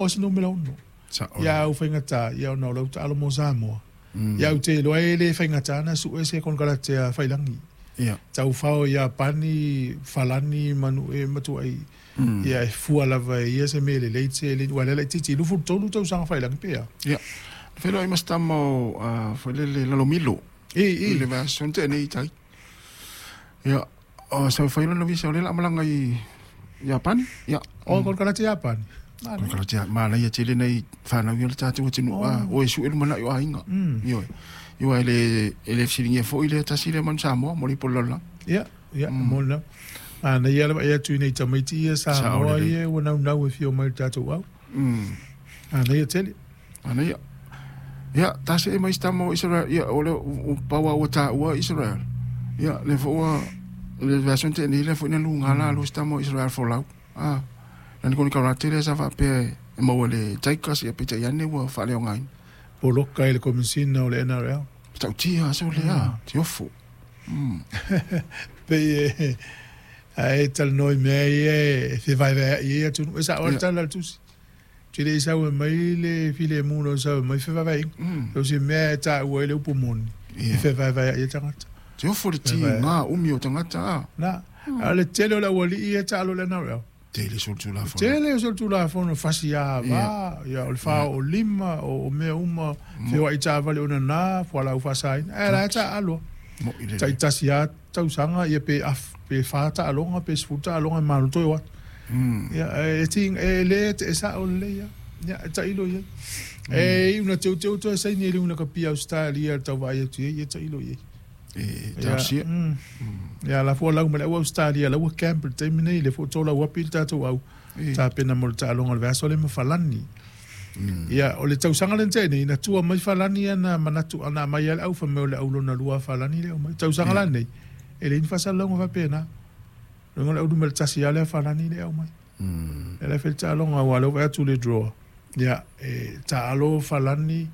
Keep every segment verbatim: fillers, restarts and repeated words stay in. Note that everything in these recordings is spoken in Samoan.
O se numera ono. Sa'o Ia lelei. au faigata, ia ona o lau taalo mo Samoa. Mm. Ia ou te iloa e le faigata ona su'e se konekarate a Faiilagi. Ia. Taufao Iapani, Falani ma nu'e matua'i. Mm. Ia e fua lava e ia se mea lelei tele aua o lea laitiiti luafulu tolu tausaga Faiilagi pe a. Ia. Na feiloai ma se tama o a foi lele Lalomilo. I I i. le vaiaso na tea nei i tai. Ia, o sau fai lona visa o lea o le a malaga i Iapani. Ia. O konekarate Iapani. Manaia. Konekarate manaia tele nai fanau ia le tatou atunuu a Oh. o e su'e lumanai o aiga. Mm. Ioe. Ioe e le e le fesiligia foi lea tasi lea manu Samoa mo le ipu o le lalolagi. Ia, ia, Mm. mo lena. Manaia le vaai atu i nei tamaiti ia Sa'o Samoa lelei. ia ua naunau e fia omai i le tatou au. Mm. Manaia tele. Manaia. Ia, ta se'e mai se tama o Israel, ia, o le o pau lava ua taua Israel. Ia, lea foi ua, le vaiaso na tea nei, lea foi na luga lalo se tama o Israel folau. Ah, lani konekarate lea sa faapea e maua i le Tigers, ia peitai ane ua faaleaogaina. Poloka i le Komisina o le N R L. Matautia aso lea, tiofo. Mm. Pei e ae talanoa i mea ia e fevaevaea'i ai atunuu. E sa'o lava le Ia. tala a le tusi. Te le i sau e mai le filemu na sau e mai fevaevae'iga. Mm. So se mea e ta'ua ai le upu moni, e Ia. fevaevaea'i ai tagata. Tiofo le Fevaevaea'i. tiga umi o tagata a. Na, a o le tele o le auali'i ia taalo i le N R L. Tele solitulafono. Tele o solitulafono fasi ava, ia o le fā oo lima, o o mea uma, feoa'i taavale onanā, fualaau faasaina. Ae la e taalo. Mo'i lelei. Ta'itasi lava tausaga, ia pe af, pe fā taaloga, pe sefulu taaloga e malo toe o atu. Mm. Ia, e ti e lē e sa'o lelei a. Ia, e ta'ilo i ai. E iu na teuteu toe saini e le una kapia Australia le tauvaai atu i ai, ia ta'ilo i ai. E Ia, talosia. mm. Ia la fua lau ma le au Australia, lau ua camp i le taimi nei, le fua tolau api le tatou au. E. Tapena mo le taaloga o le vaiaso le ma Falani. Mm. Ia, o le tausaga lena tea nei, na tua mai Falani ana manatu ana mai ai le au fai mai o le au lona lua a Falani le au mai. Tausaga Ia. la nei, e leai ni faasalalauga faapena. Loga o le au numera tasi lava lea Falani le au mai. Mm. E le fai le taaloga aua lea ua vaai atu le draw. Ia, e taalo Falani,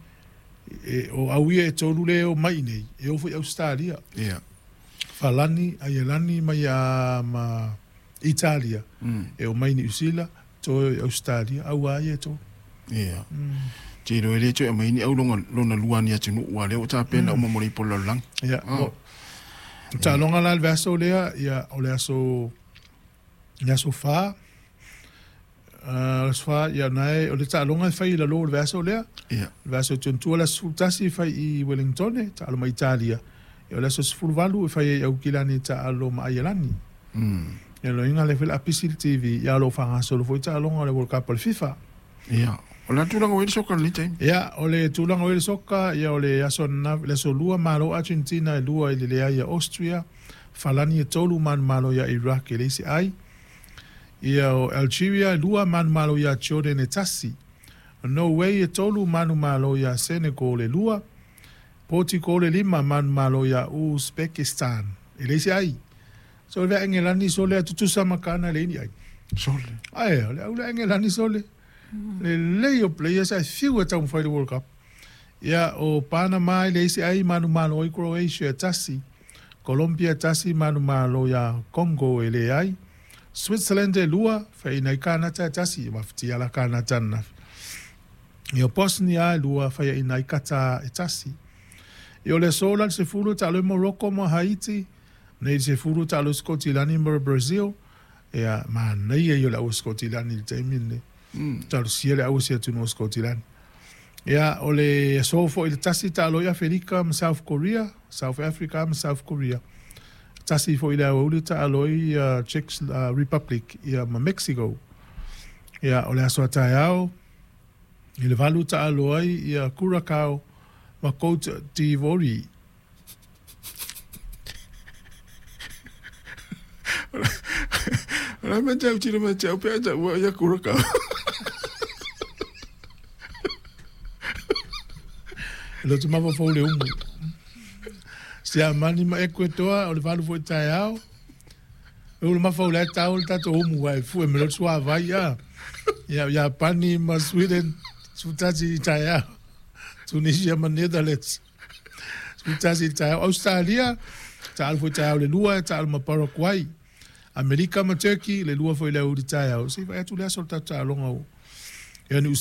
e, o au ia e tolu le o mai nei, e o foi Australia. Ia. Falani, Aielani mai a ma Italia. Mm. E o mai Niu Sila, toe Australia, au a ia e tolu. Ia. Mm. Te iloa e le toe aumaia ni au loga lona lua ni atunuu ua lea ua tapena uma mo le ipu o le lalolagi. Ia, Ah. o taaloga la le vaiaso lea, ia, o le aso, le aso fā, uh, le aso fā, ia, nae, o le taaloga e fai i lalō o le vaiaso lea, Ia. le vaiaso tuantua le aso sefulutasi e fai i Wellington, taalo ma Italia. Ia, o le aso sefuluvalu e fai ai i Aukilani taalo ma Aielani. Mm. Ia, loiga le fai le apisi le T V, ia o lo o faagasolo foi taaloga o le World Cup o le FIFA. Ia. O le a tulaga ua i ai le soka i lenei taimi? Ia, o le tulaga o i le soka, ia o le aso ananafi, le aso lua malo Argentina e lua i le leai ia Austria, Falani e tolu manumalo ia Iraq e leai se ai. Ia o Algeria e lua manumalo ia Jordan e tasi. O Norway e tolu manumalo ia Senegal e lua. Portugal e lima manumalo ia Uzbekistan e leai se ai. So le Engelani so lea tutusa ma Kana e leai ni ai. Sole. Ae, o le au le Engelani sole. Lelei o players ae fiu e taumafai le World Cup. Ia, o Panama e leai se ai manumalo ai Croatia e tasi. Colombia e tasi manumalo ia Congo e leai. Switzerland e lua, fai'ina ai Kanata e tasi, mafatia la Kanata ananafi. Ia o Bosnia e lua, fai'aina ai Qatar e tasi. Ia o le aso la le sefulu e taalo ai Morocco ma Haiti, nei le sefulu e taalo ai Sikotilani ma Brazil. Ia, manaia ia o le au Sikotilani i le taimi lenei. Mm. Talosia le au se atunuu o Sikotilani. Ia, o le aso fo'i le tasi taalo ai Afelika ma South Korea, South Africa ma South Korea. Tasi fo'i le aoauli taalo ai uh, Czech uh, Republic ia ma Mexico. Ia, o le aso a taeao, i le valu taalo ai ia Curacao ma Cote d'Ivoire. O le a mea te au tino mea te au pe a taua ia Curacao. E loto mafaufau le umu. Siamani ma Ekuetoa, o le valu fo'i taeao. E ulu mafau le tau le tatou umu ai fue me lotu suavai a. Ia, Iapani ma Sweden, sefulutasi i taeao. Tunisia ma Netherlands. Sefulutasi i taeao. Australia, taalo fo'i taeao le lua, taalo ma Paraguay. Amerika ma Turkey, le lua fo'i le aoauli taeao. Se i vaai atu le aso o le tatou taaloga o. Ia Niu